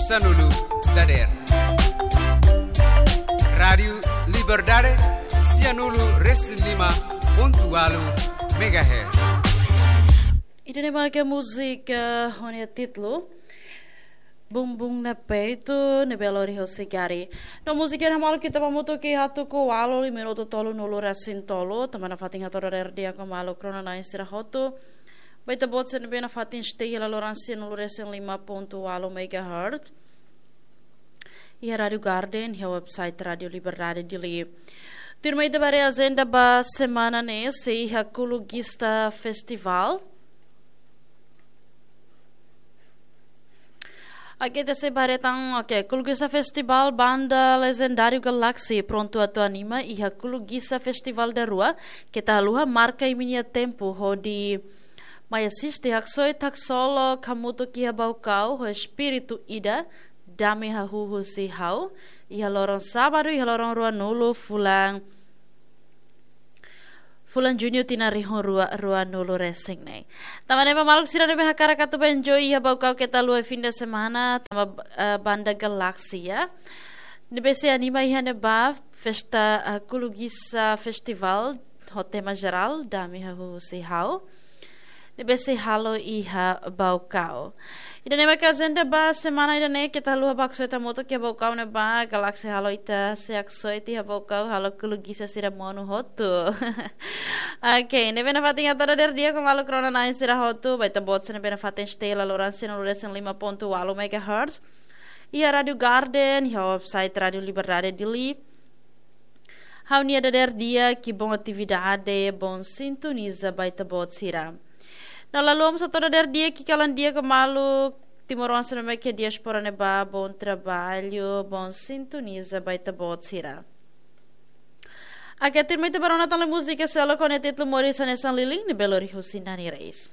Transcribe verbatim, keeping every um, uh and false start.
Sanulu dader. Rádiu Liberdade, sianulu resin lima pontu walu megahertz. Ida-ne'e mak múzika ho nia títulu Bumbum na Peito, ne'ebé lori husi Gari. No múzika ne'e hamutuk ho ita hamutuk iha tuku ualu, lima minutu tolunulu resin tolu, tanba nafatin hato'o dader di'ak ho maluk rona-na'in sira hotu. Ba ita-boot sira ne'ebé nafatin stay iha laloran sianulu resin lima pontu walu megahertz. Iha Rádiu Garden, iha website Rádiu Liberdade Dili. Tuirmai ita bá haree ajenda ba semana ne'e, sei iha Kulugisa Festival. Oke, ita sei bá haree tan, oke, Kulugisa Festival, banda lejendáriu Galaxy prontu atu anima iha Kulugisa Festival da Rua, keta haluha marka imi-nia tempu hodi mai asiste, haksoit, haksolok hamutuk iha Baucau ho espíritu ida, Dame Hahú Husi Ha'u, iha loron sábadu, iha loron ruanulu fulan, fulan Juñu tinan rihun rua, ruanulu resin neen. Tanba ne'e ba maluk sira ne'ebé hakarak atu bá enjoy iha Baucau keta haluha fim de semana, tanba, eh, banda Galaxy, ya. Ne'ebé sei anima iha ne'ebá festa, eh, Kulugisa Festival, ho tema jerál, Dame Hahú Husi Ha'u. Ne'ebé sei halo iha Baucau. Ida-ne'e mak ajenda ba semana ida-ne'e, keta haluha bá haksoit hamutuk iha Baucau ne'ebá, Galaxy halo ita sei haksoit iha Baucau, halo Kulugisa sira monu hotu. Oke, ne'ebé nafatin hato'o dader di'ak ho maluk rona-na'in sira hotu, ba ita-boot sira ne'ebé nafatin stay iha laloran sianulu resin lima pontu walu megahertz. Iha Rádiu Garden, iha website Rádiu Liberdade Dili. Ha'u-nia dader di'ak, bom atividade, bom sintoniza ba ita-boot sira. No la haluha mós hato'o dader di'ak, kalan di'ak ho maluk timoroan sira ne'ebé iha diáspora ne'ebá, bom trabalho, bom sintoniza ba ita-boot sira. Oke, tuirmai ita bá rona tan múzika seluk ho nia títulu Moris Hanesan Lilin, ne'ebé lori husi Nani Reis.